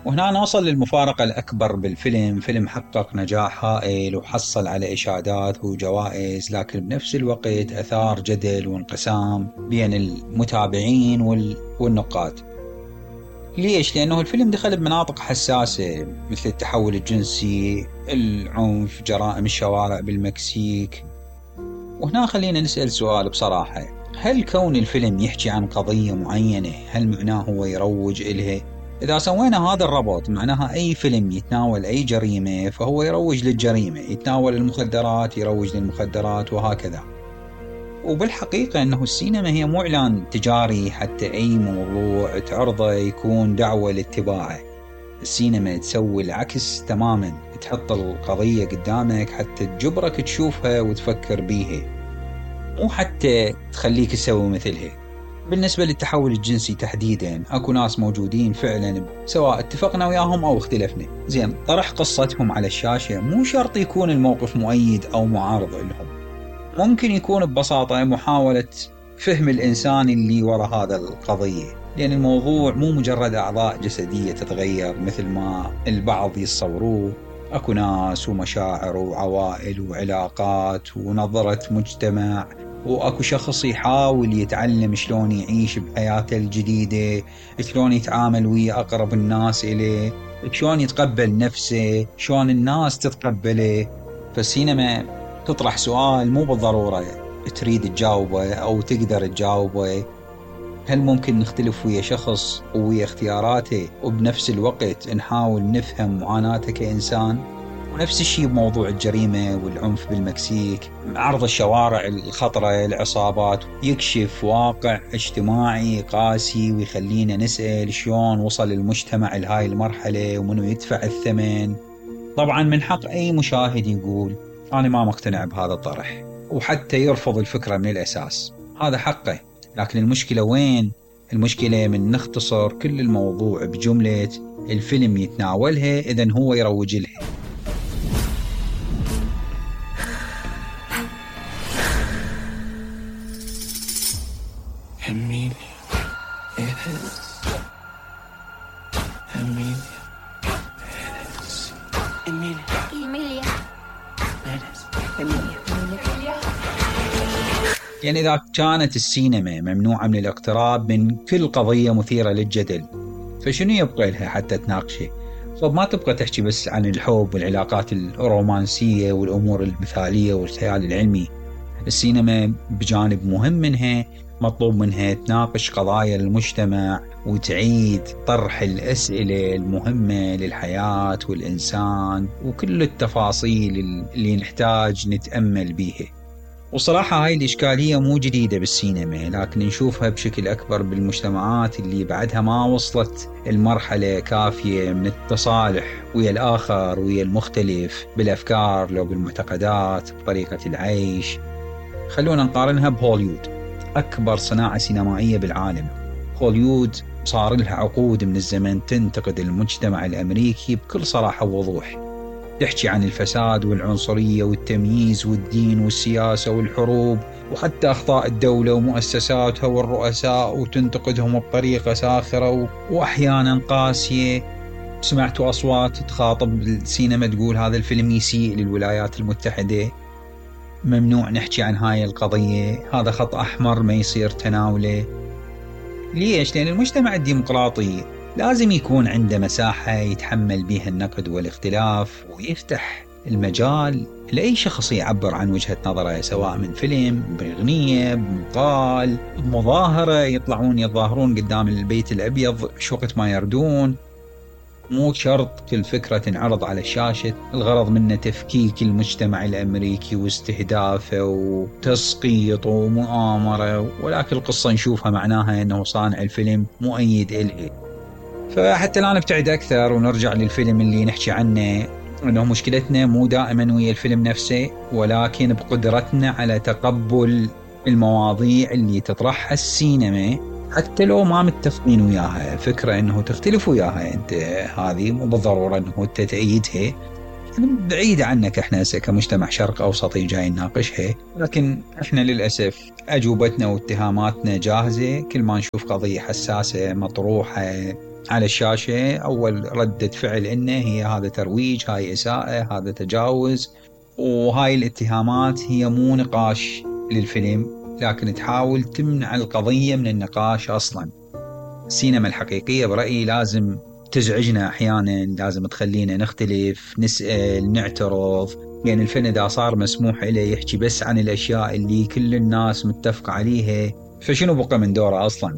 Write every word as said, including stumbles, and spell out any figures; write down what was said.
وهنا نوصل للمفارقة الأكبر بالفيلم. فيلم حقق نجاح هائل وحصل على إشادات وجوائز، لكن بنفس الوقت أثار جدل وانقسام بين المتابعين والنقاد. ليش؟ لأنه الفيلم دخل بمناطق حساسة مثل التحول الجنسي، العنف، جرائم الشوارع بالمكسيك. وهنا خلينا نسأل سؤال بصراحة: هل كون الفيلم يحكي عن قضية معينة هل معناه هو يروج إلها؟ إذا سوينا هذا الربط معناها أي فيلم يتناول أي جريمة فهو يروج للجريمة، يتناول المخدرات يروج للمخدرات، وهكذا. وبالحقيقة أنه السينما هي مو إعلان تجاري، حتى أي موضوع تعرضه يكون دعوة لاتباعه. السينما تسوي العكس تماما، تحط القضية قدامك حتى تجبرك تشوفها وتفكر بيها، مو حتى تخليك تسوي مثلها. بالنسبة للتحول الجنسي تحديدا، أكو ناس موجودين فعلا سواء اتفقنا وياهم أو اختلفنا، زين طرح قصتهم على الشاشة مو شرط يكون الموقف مؤيد أو معارض لهم، ممكن يكون ببساطة محاولة فهم الإنسان اللي وراء هذا القضية، لأن الموضوع مو مجرد أعضاء جسدية تتغير مثل ما البعض يتصوروه. أكو ناس ومشاعر وعوائل وعلاقات ونظرة مجتمع، وأكو شخص يحاول يتعلم شلون يعيش بحياته الجديدة، شلون يتعامل ويا أقرب الناس إليه، شلون يتقبل نفسه، شلون الناس تتقبله. فالسينما تطرح سؤال مو بالضرورة تريد تجاوبه أو تقدر تجاوبه: هل ممكن نختلف ويا شخص ويا اختياراته وبنفس الوقت نحاول نفهم معاناته كإنسان؟ ونفس الشيء بموضوع الجريمة والعنف بالمكسيك، عرض الشوارع الخطرة، العصابات، يكشف واقع اجتماعي قاسي ويخلينا نسأل شلون وصل المجتمع لهاي المرحلة ومنو يدفع الثمن. طبعا من حق أي مشاهد يقول أنا ما مقتنع بهذا الطرح، وحتى يرفض الفكرة من الأساس، هذا حقه. لكن المشكلة وين؟ المشكلة من نختصر كل الموضوع بجملة الفيلم يتناولها إذن هو يروج لها. Emilia, eres. Emilia, eres. Emilia, Emilia, eres. Emilia, Emilia. يعني إذا كانت السينما ممنوعة من الاقتراب من كل قضية مثيرة للجدل، فشنو يبقى لها حتى تناقشه؟ طب ما تبقى تحكي بس عن الحب والعلاقات الرومانسية والأمور المثالية والخيال العلمي. السينما بجانب مهم منها مطلوب منها تناقش قضايا المجتمع وتعيد طرح الأسئلة المهمة للحياة والإنسان وكل التفاصيل اللي نحتاج نتأمل بيها. وصراحة هاي الإشكالية مو جديدة بالسينما، لكن نشوفها بشكل أكبر بالمجتمعات اللي بعدها ما وصلت المرحلة كافية من التصالح ويا الآخر ويا المختلف بالأفكار لو بالمعتقدات بطريقة العيش. خلونا نقارنها بهوليوود، أكبر صناعة سينمائية بالعالم. هوليوود صار لها عقود من الزمن تنتقد المجتمع الأمريكي بكل صراحة ووضوح، تحكي عن الفساد والعنصرية والتمييز والدين والسياسة والحروب وحتى أخطاء الدولة ومؤسساتها والرؤساء، وتنتقدهم بطريقة ساخرة وأحيانا قاسية. سمعتوا أصوات تخاطب السينما تقول هذا الفيلم يسيء للولايات المتحدة، ممنوع نحكي عن هاي القضية، هذا خط أحمر ما يصير تناوله. ليش؟ لأن المجتمع الديمقراطي لازم يكون عنده مساحة يتحمل بها النقد والاختلاف، ويفتح المجال لأي شخص يعبر عن وجهة نظره، سواء من فيلم، بأغنية، بمقال، بمظاهرة، يطلعون يتظاهرون قدام البيت الأبيض شو وقت ما يردون. مو شرط كل فكرة تنعرض على الشاشة الغرض منه تفكيك المجتمع الأمريكي واستهدافه وتسقيط ومؤامرة، ولكن القصة نشوفها معناها أنه صانع الفيلم مؤيد إليه. فحتى لا نبتعد أكثر ونرجع للفيلم اللي نحكي عنه، أنه مشكلتنا مو دائما ويا الفيلم نفسه، ولكن بقدرتنا على تقبل المواضيع اللي تطرحها السينما حتى لو ما متفقين وياها. فكرة أنه تختلف وياها أنت، هذه مو بالضرورة أنه أنت تأيدها، بعيدة عنك. إحنا كمجتمع شرق أوسطي جاي نناقشها، لكن إحنا للأسف أجوبتنا واتهاماتنا جاهزة. كل ما نشوف قضية حساسة مطروحة على الشاشة أول ردة فعل إنه هي هذا ترويج، هاي إساءة، هذا تجاوز، وهاي الاتهامات هي مو نقاش للفيلم، لكن تحاول تمنع القضية من النقاش أصلا. السينما الحقيقية برأيي لازم تزعجنا أحيانا، لازم تخلينا نختلف، نسأل، نعترض، لأن الفن إذا صار مسموح له يحكي بس عن الأشياء اللي كل الناس متفقة عليها فشنو بقى من دوره أصلا؟